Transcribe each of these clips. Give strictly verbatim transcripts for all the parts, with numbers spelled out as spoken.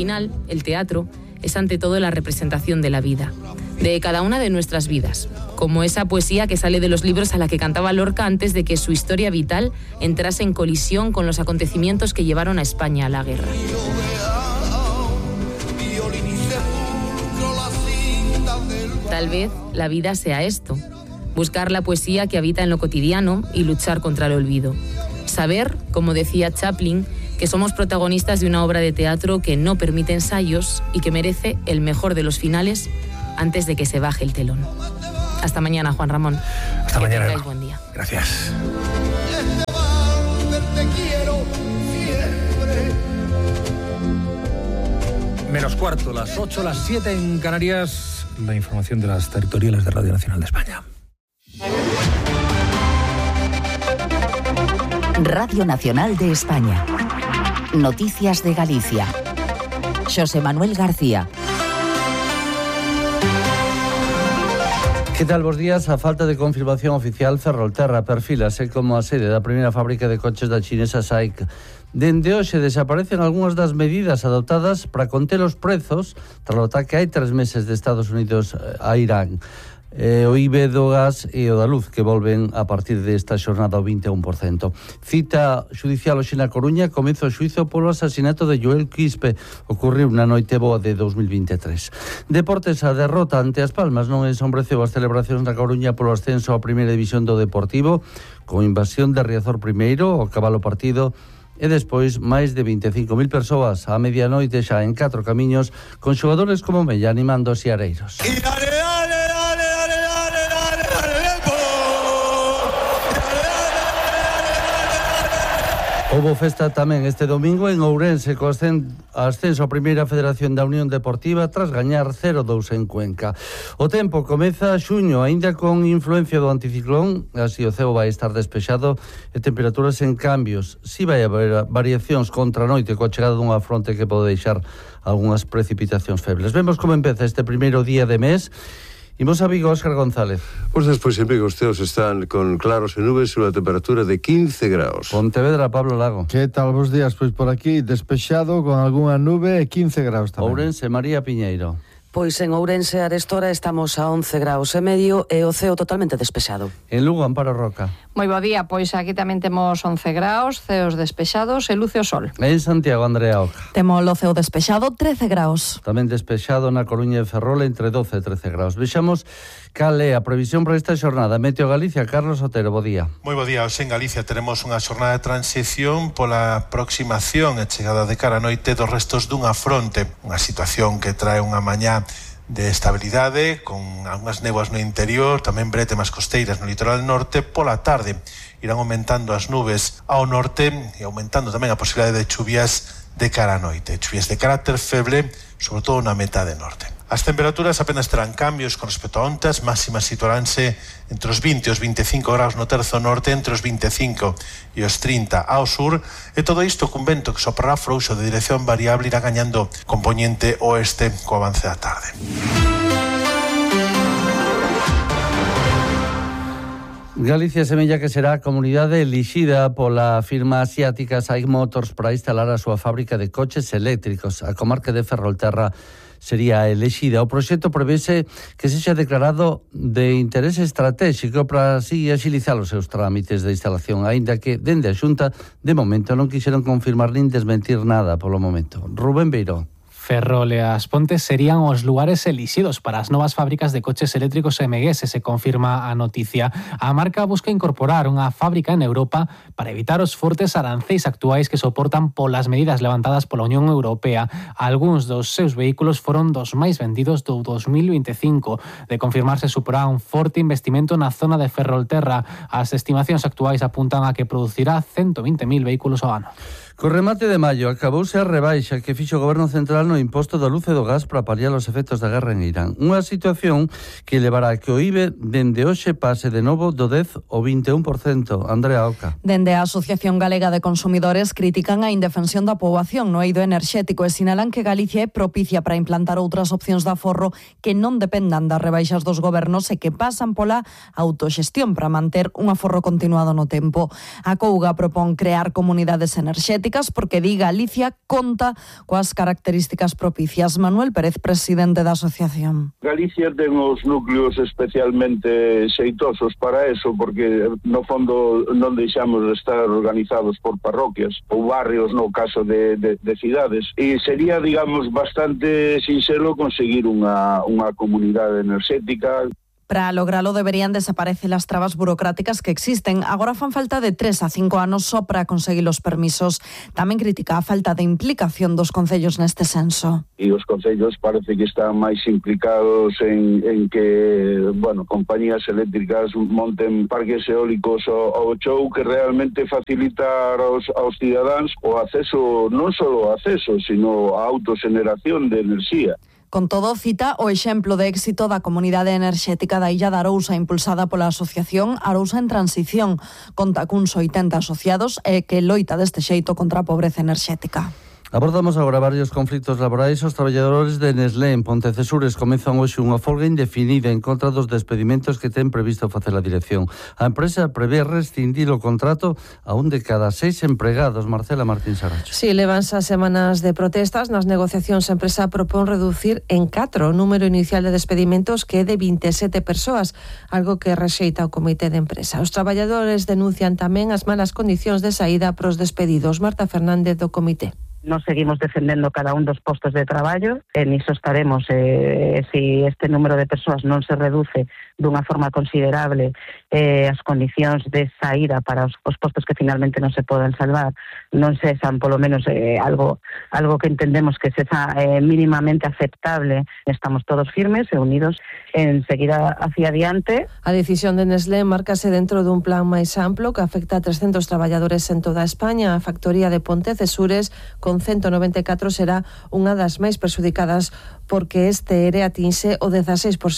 final, el teatro es ante todo la representación de la vida, de cada una de nuestras vidas, como esa poesía que sale de los libros a la que cantaba Lorca antes de que su historia vital entrase en colisión con los acontecimientos que llevaron a España a la guerra. Tal vez la vida sea esto, buscar la poesía que habita en lo cotidiano y luchar contra el olvido. Saber, como decía Chaplin, que somos protagonistas de una obra de teatro que no permite ensayos y que merece el mejor de los finales antes de que se baje el telón. Hasta mañana, Juan Ramón. Hasta que mañana. tengáis buen día. Gracias. Menos cuarto, las ocho, las siete en Canarias. La información de las territoriales de Radio Nacional de España. Radio Nacional de España. Noticias de Galicia. Xosé Manuel García. Que tal, bos días? A falta de confirmación oficial, Ferrolterra perfílase como a sede da primeira fábrica de coches da chinesa S A I C. Dende hoxe desaparecen algunhas das medidas adoptadas para conter os prezos tras o ataque hai tres meses de Estados Unidos a Irán. Eh, o I B E do gas e o da luz que volven a partir desta xornada ao vinte e un por cento. Cita judicial hoxe na Coruña, comezo o xuizo polo asasinato de Joel Quispe, ocorreu na noite boa de dos mil vinte e tres. Deportes, a derrota ante As Palmas non ensombreceu as celebracións na Coruña polo ascenso á primeira división do Deportivo, con invasión de Riazor primeiro, o cabalo partido, e despois máis de vinte e cinco mil persoas a medianoite xa en catro camiños, con xogadores como Mella animando os siareiros. Houbo festa tamén este domingo en Ourense co ascenso a primeira federación da Unión Deportiva tras gañar cero dous en Cuenca. O tempo comeza xuño, aínda con influencia do anticiclón, así o ceo vai estar despexado e temperaturas en cambios. Si vai haber variacións contra a noite coa chegada dunha fronte que pode deixar algunhas precipitacións febles. Vemos como empeza este primeiro día de mes. Imos a Vigo, Óscar González. Pues despois en Vigo os ceos están con claros e nubes e unha temperatura de quince graus. Pontevedra, Pablo Lago. Que tal, bos días? Pois por aquí despexado con algunha nube e quince graus tamén. Ourense, María Piñeiro. Pois en Ourense arestora estamos a once graus e medio e o ceo totalmente despexado. En Lugo, Amparo Roca. Moi bo día, pois aquí tamén temos once graus, ceos despexados e luce o sol. En Santiago, Andrea Oca. Temos o ceo despexado, trece graus. Tamén despexado na Coruña e Ferrol entre doce e trece graus. Vexamos cal é a previsión para esta xornada. Meteo Galicia, Carlos Otero, bo día. Moi bo día, hoxe en Galicia teremos unha xornada de transición pola aproximación e chegada de cara a noite dos restos dunha fronte, unha situación que trae unha mañá de estabilidade, con algunhas néboas no interior, tamén brétemas costeiras no litoral norte. Pola tarde irán aumentando as nubes ao norte e aumentando tamén a posibilidade de chuvias de cara a noite, chuvias de carácter feble, sobre todo na metade norte. As temperaturas apenas terán cambios con respecto a onte, as máximas situaránse entre os vinte e os vinte e cinco graus no terzo norte, entre os vinte e cinco e os trinta ao sur, e todo isto cun vento que soprará frouxo de dirección variable, irá gañando componente oeste co avance da tarde. Galicia semella que será a comunidade elixida pola firma asiática S A I C Motors para instalar a súa fábrica de coches eléctricos. A comarca de Ferrolterra sería elexida. O proxecto prevese que sexa declarado de interese estratégico para así axilizar os seus trámites de instalación, aínda que dende a Xunta de momento non quixeron confirmar nin desmentir nada polo momento. Rubén Beiró. Ferrol e As Pontes serían os lugares elixidos para as novas fábricas de coches eléctricos M G S, se confirma a noticia. A marca busca incorporar unha fábrica en Europa para evitar os fortes arancéis actuais que soportan polas medidas levantadas pola Unión Europea. Algúns dos seus vehículos foron dos máis vendidos do dos mil vinte e cinco. De confirmarse, suporá un forte investimento na zona de Ferrolterra. As estimacións actuais apuntan a que producirá ciento vinte mil vehículos ao ano. Co remate de maio acabouse a rebaixa que fixo o Goberno Central no imposto da luz e do gas para paliar os efectos da guerra en Irán. Unha situación que levará a que o I B E dende hoxe pase de novo do dez ao vinte e un por cento. Andrea Oca. Dende a Asociación Galega de Consumidores critican a indefensión da poboación no eido enerxético e sinalan que Galicia é propicia para implantar outras opcións de aforro que non dependan das rebaixas dos gobernos e que pasan pola autoxestión para manter un aforro continuado no tempo. A Couga propón crear comunidades enerxéticas enerxéticas porque di Galicia conta coas características propicias. Manuel Pérez, presidente da asociación. Galicia ten os núcleos especialmente xeitosos para eso, porque no fondo non deixamos de estar organizados por parroquias ou barrios no caso de, de, de cidades, e sería, digamos, bastante sinxelo conseguir unha, unha comunidade enerxética. Para logralo deberían desaparecer as trabas burocráticas que existen. Agora fan falta de tres a cinco anos só para conseguir os permisos. Tamén critica a falta de implicación dos concellos neste senso. E os concellos parece que están máis implicados en, en que, bueno, compañías eléctricas monten parques eólicos ao, ao chou, que realmente facilitar aos, aos cidadáns o acceso, non só o acceso, sino a autoxeneración de enerxía. Con todo, cita o exemplo de éxito da comunidade enerxética da Illa de Arousa, impulsada pola asociación Arousa en Transición. Conta cuns oitenta asociados e que loita deste xeito contra a pobreza enerxética. Abordamos agora varios conflitos laborais. Os traballadores de Nestlé en Pontecesures comezan hoxe unha folga indefinida en contra dos despedimentos que ten previsto facer a dirección. A empresa prevé rescindir o contrato a un de cada seis empregados. Marcela Martín Saracho. Si, sí, levanse as semanas de protestas. Nas negociacións a empresa propón reducir en catro o número inicial de despedimentos, que é de vinte e sete persoas, algo que rexeita o comité de empresa. Os traballadores denuncian tamén as malas condicións de saída para os despedidos. Marta Fernández, do comité. Nos seguimos defendendo cada un dos postos de traballo e niso estaremos. Eh, se si este número de persoas non se reduce dunha forma considerable, eh, as condicións de saída para os, os postos que finalmente non se poden salvar non se san polo menos eh, algo algo que entendemos que se xa eh, mínimamente aceptable, estamos todos firmes e unidos en seguir a, hacia adiante. A decisión de Nestlé márcase dentro dun plan máis amplo que afecta a trescentos traballadores en toda España. A factoría de Pontecesures, con ciento noventa e catro, será unha das máis perxudicadas porque este ere atinxe o dezaseis por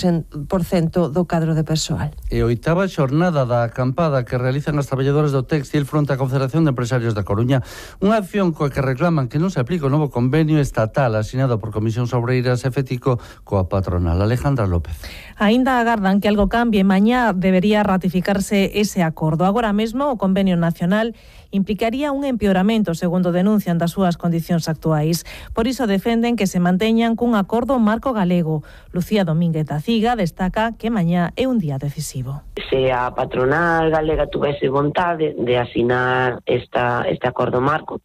cento do cadro de persoal. E oitava xornada da acampada que realizan as traballadores do Téxtil fronte á Confederación de Empresarios da Coruña, unha acción coa que reclaman que non se aplique o novo convenio estatal asinado por Comisións Obreiras e Fético coa patronal. Alejandra López. Aínda agardan que algo cambie. Mañá debería ratificarse ese acordo. Agora mesmo o convenio nacional implicaría un empeoramento, segundo denuncian, das súas condicións actuais. Por iso defenden que se manteñan cun acordo marco galego. Lucía Domínguez da Ciga destaca que mañá é un día decisivo. Se a patronal galega tuvese vontade de asinar esta, este acordo marco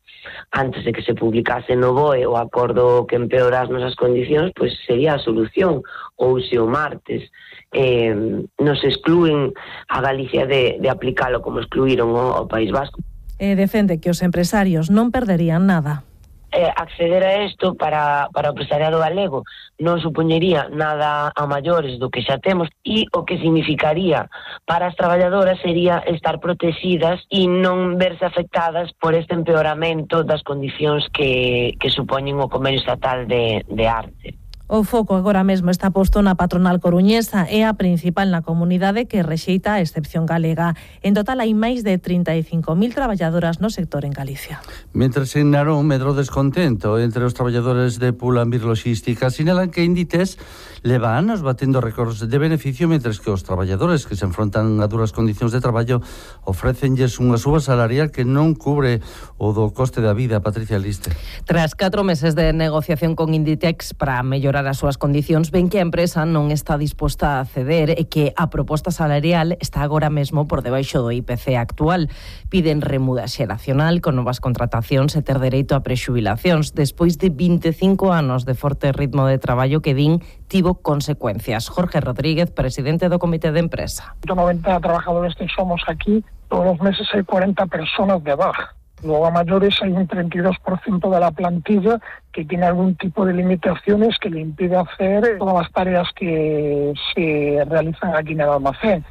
antes de que se publicase no B O E o acordo que empeora as nosas condicións, pois sería a solución. Ou se o martes eh, nos exclúen a Galicia de, de aplicalo como excluíron o, o País Vasco. E defende que os empresarios non perderían nada. Eh, acceder a isto para, para o empresariado galego non supoñería nada a maiores do que xa temos, e o que significaría para as traballadoras sería estar protegidas e non verse afectadas por este empeoramento das condicións que, que supoñen o convenio estatal de, de arte. O foco agora mesmo está posto na patronal coruñesa, é a principal na comunidade que rexeita a excepción galega. En total hai máis de trinta e cinco mil traballadoras no sector en Galicia. Mentres en Narón medrou descontento entre os traballadores de Pull&Bear Logística, sinalan que Inditex leva anos batendo récords de beneficio, mentres que os traballadores que se enfrontan a duras condicións de traballo ofrécenlles unha suba salarial que non cubre o do coste da vida. Patricia Liste. Tras catro meses de negociación con Inditex para mellorar as súas condicións, ven que a empresa non está disposta a ceder e que a proposta salarial está agora mesmo por debaixo do I P C actual. Piden remuda xeracional con novas contratacións e ter dereito a prexubilacións despois de vinte e cinco anos de forte ritmo de traballo que din tivo consecuencias. Jorge Rodríguez, presidente do Comité de Empresa. noventa trabajadores que somos aquí, todos los meses hay cuarenta personas de baja. Luego a mayores hay un treinta y dos por ciento de la plantilla que tiene algún tipo de limitaciones que le impide hacer todas las tareas que se realizan aquí en el almacén.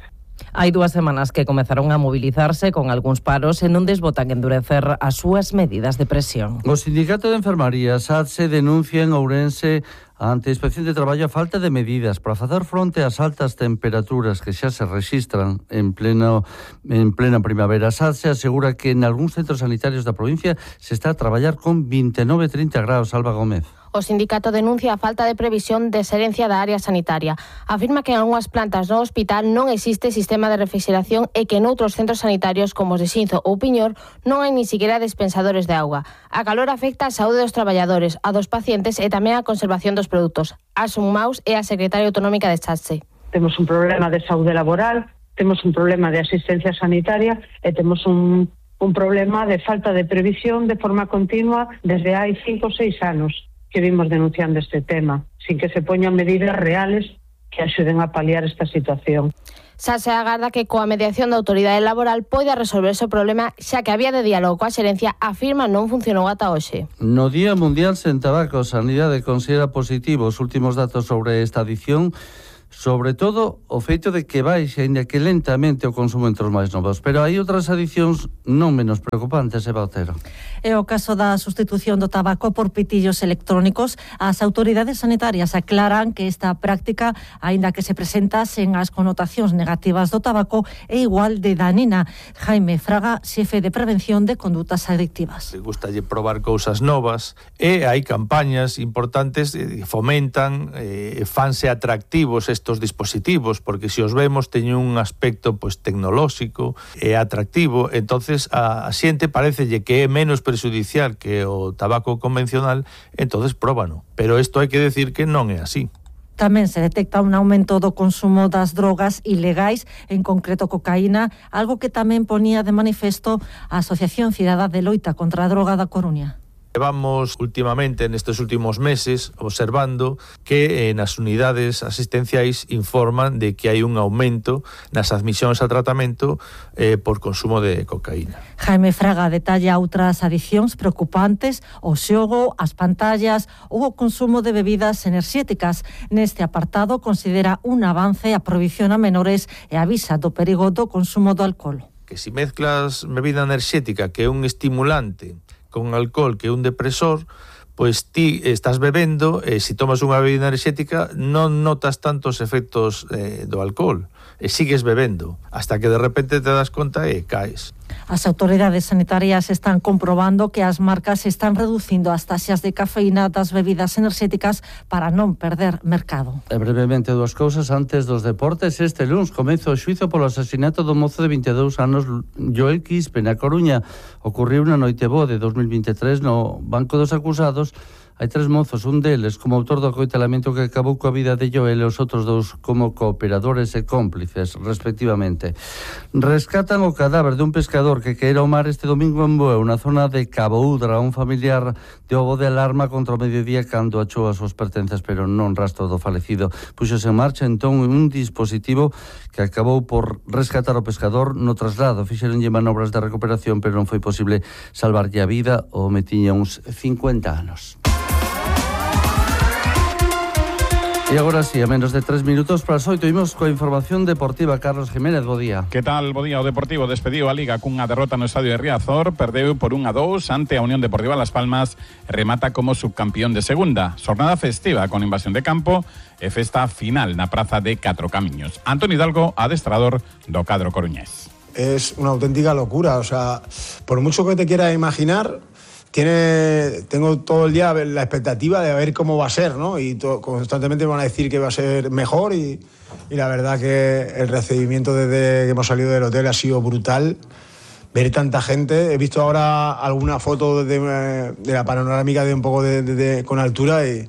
Hai dúas semanas que comezaron a mobilizarse con algúns paros e non desbotan endurecer as súas medidas de presión. O Sindicato de Enfermaría S A T S E denuncia en Ourense ante a Inspección de Traballo a falta de medidas para facer fronte ás altas temperaturas que xa se rexistran en pleno en plena primavera. S A T S E asegura que en algúns centros sanitarios da provincia se está a traballar con vinte e nove a trinta graus. Alba Gómez. O sindicato denuncia a falta de previsión de xerencia da área sanitaria. Afirma que en algunhas plantas do hospital non existe sistema de refrigeración e que noutros centros sanitarios como os de Xinzo ou Piñor non hai ni siquiera dispensadores de auga. A calor afecta a saúde dos traballadores, a dos pacientes e tamén a conservación dos produtos. Asun Maus é a secretaria autonómica de Chatse. Temos un problema de saúde laboral, temos un problema de asistencia sanitaria e temos un, un problema de falta de previsión de forma continua desde hai cinco ou seis anos que vimos denunciando este tema, sin que se poñan medidas reales que axuden a paliar esta situación. Xa se agarda que coa mediación da autoridade laboral poida resolverse o problema, xa que a vía de diálogo coa xerencia afirma non funcionou ata hoxe. No Día Mundial sen Tabaco, Sanidade considera positivo os últimos datos sobre esta adición, sobre todo o feito de que baixe, aínda que lentamente, o consumo entre os máis novos. Pero hai outras adicións non menos preocupantes, Eva Otero. É o caso da sustitución do tabaco por pitillos electrónicos. As autoridades sanitarias aclaran que esta práctica, aínda que se presenta sen as connotacións negativas do tabaco, é igual de danina. Jaime Fraga, xefe de prevención de condutas adictivas. Gustalle probar cousas novas e hai campañas importantes que fomentan, eh, fanse atractivos estos dispositivos, porque se os vemos teñen un aspecto pois tecnolóxico e atractivo, entonces a, a xente parecelle que é menos perxudicial que o tabaco convencional, entonces próbano. Pero isto hai que decir que non é así. Tamén se detecta un aumento do consumo das drogas ilegais, en concreto cocaína, algo que tamén ponía de manifesto a Asociación Cidadá de Loita contra a Droga da Coruña. Levamos últimamente, nestes últimos meses, observando que eh, nas unidades asistenciais informan de que hai un aumento nas admisións a tratamento eh, por consumo de cocaína. Jaime Fraga detalla outras adicións preocupantes, o xogo, as pantallas ou o consumo de bebidas enerxéticas. Neste apartado considera un avance a prohibición a menores e avisa do perigo do consumo do alcohol. Que si mezclas bebida enerxética, que é un estimulante, con alcohol, que é un depresor, pois ti estás bebendo e se tomas unha bebida enerxética non notas tantos efectos eh, do alcohol e sigues bebendo hasta que de repente te das conta e caes. As autoridades sanitarias están comprobando que as marcas están reducindo as taxas de cafeína das bebidas enerxéticas para non perder mercado. E brevemente dúas cousas antes dos deportes. Este luns comeza o xuízo polo asasinato do mozo de vinte e dous anos Joel Quispe na Coruña. Ocorreu na noite boa de dos mil vinte e tres no banco dos acusados. Hai tres mozos, un deles como autor do acoitelamento que acabou coa vida de Joel e os outros dous como cooperadores e cómplices, respectivamente. Rescatan o cadáver dun pescador que caera ao mar este domingo en Bueu, na zona de Cabo Udra. Un familiar de ovo de alarma contra o mediodía cando achou as súas pertencias, pero non rastro do falecido. Puxose en marcha entón un dispositivo que acabou por rescatar o pescador no traslado. Fixeronlle manobras de recuperación, pero non foi posible salvarlle a vida. O home tiña uns cincuenta anos. E agora sí, a menos de tres minutos para as oito, imos coa información deportiva. Carlos Jiménez, bo día. Que tal, bo día? O Deportivo despediu a Liga cunha derrota no estadio de Riazor, perdeu por un a dous ante a Unión Deportiva Las Palmas e remata como subcampeón de segunda. Xornada festiva con invasión de campo e festa final na praza de Catro Camiños. Antoni Hidalgo, adestrador do cadro coruñés. Es una auténtica locura, o sea, por mucho que te quiera imaginar, Tiene, tengo todo el día la expectativa de ver cómo va a ser, ¿no? Y to, constantemente me van a decir que va a ser mejor y, y la verdad que el recibimiento desde que hemos salido del hotel ha sido brutal. Ver tanta gente, he visto ahora alguna foto de, de la panorámica de un poco de, de, de, con altura y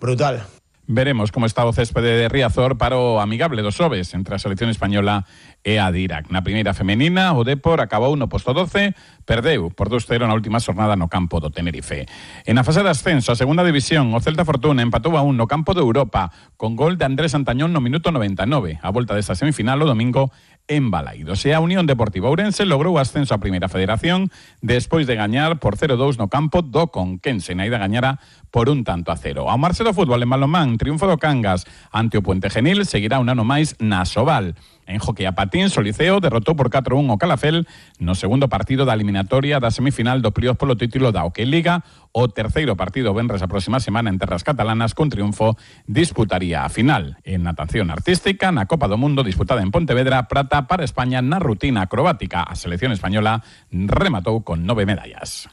brutal. Veremos como está o céspede de Riazor para o amigable dos xoves entre a selección española e a de Irak. Na primeira femenina, o Depor acabou no posto doce, perdeu por dos cero na última xornada no campo do Tenerife. En a fase de ascenso, a segunda división, o Celta Fortuna empatou a un no campo de Europa, con gol de Andrés Antañón no minuto noventa e nove. A volta desta semifinal o domingo en Balaídos. E a Unión Deportiva Ourense logrou o ascenso a Primeira Federación despois de gañar por cero dous no campo do Conquense. Na ida gañara por un tanto a cero. Ao marche do fútbol en balonmán, triunfo do Cangas ante o Puente Genil, seguirá un ano máis na Sobal. En hockey a patins, o Liceo derrotou por catro a un o Calafel no segundo partido da eliminatoria da semifinal do playoff polo título da Hockey Liga. O terceiro partido venres a próxima semana en terras catalanas con triunfo disputaría a final. En natación artística, na Copa do Mundo disputada en Pontevedra, prata para España na rutina acrobática. A selección española rematou con nove medallas.